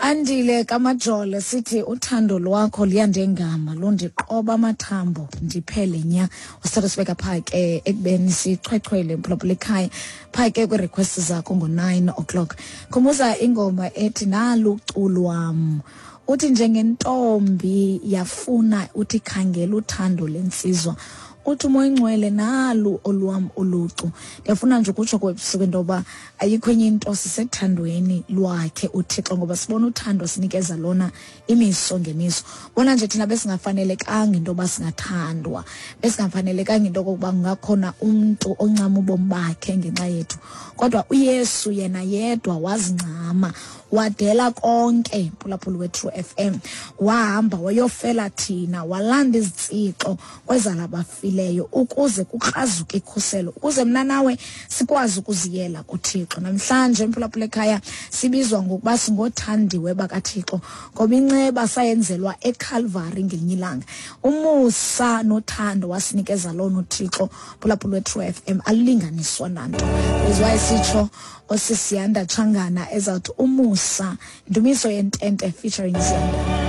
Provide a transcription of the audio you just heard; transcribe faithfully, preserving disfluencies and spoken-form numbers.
Andile kaMajolo, sithi uthando lwakho liyandengama, lundiqoba amathambo ndiphele nya. Usithatha sibeka phaa ke ekubeni sichwechwele, mphulaphula ekhaya, phaa ke kwii-request zakho ngo-nine o'clock. Khumbuza ingoma ethi "Naluculwam". Uthi njengentombi yafuna, uthi khangela uthando lensizwa, uthi uMoya Ingcwele nalu olwam ulucu. Ndiyafuna nje ukutsho kwebusuku into yoba ayikho enye into, sisethandweni lwakhe uThixo, ngoba sibona uthando sinikeza lona imiso ngemiso. Bona nje thina besingafanelekanga into yoba singathandwa, besingafanelekanga into okokuba kungakhona umntu oncama ubomi bakhe ngenxa yethu, kodwa uYesu yena yedwa wazincama, wadela konke, mphulaphuli we-True F M, wahamba wayofela thina, walanda izitsixo kwezala bafileyo ukuze kukrazuke ikhuselo, ukuze mna nawe sikwazi ukuziyela kuThixo. Namhlanje, mphulaphula ekhaya, sibizwa ngokuba singothandiwe bakaThixo, ngoba inceba sayenzelwa eCalvary ngelinye ilanga. Umusa nothando wasinikeza lona uThixo, mphulaphula we-True F M, alulinganiswa nanto. Is sitsho osisiyanda Tshangana ezawuthi "Umusa", Ndumiso Yentente featuring Ziyanda.